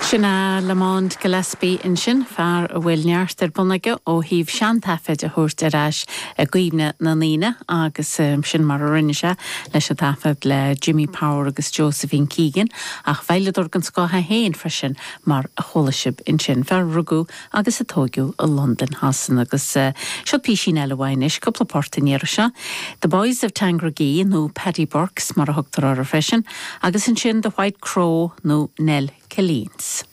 Sin é Lamont Gillespie ansin, fear a bhfuil neart ar bun aige ó thaobh seantaifid a thabhairt ar ais i gcuimhne na ndaoine agus sin mar a rinne sé leis an taifead le Jimmy Power agus Josephine Keegan ach veidhleadóir den scoth é féin freisin mar a chuala sibh ansin. Fear a rugadh agus a tóigeadh i Londain Shasana agus seo písín eile uaidh anois, cúpla port an iarraidh seo, The Boys of Tandragee nó Paddy Burke's mar a thugtar orthu freisin agus ansin The White Crow nó Nell Killeens.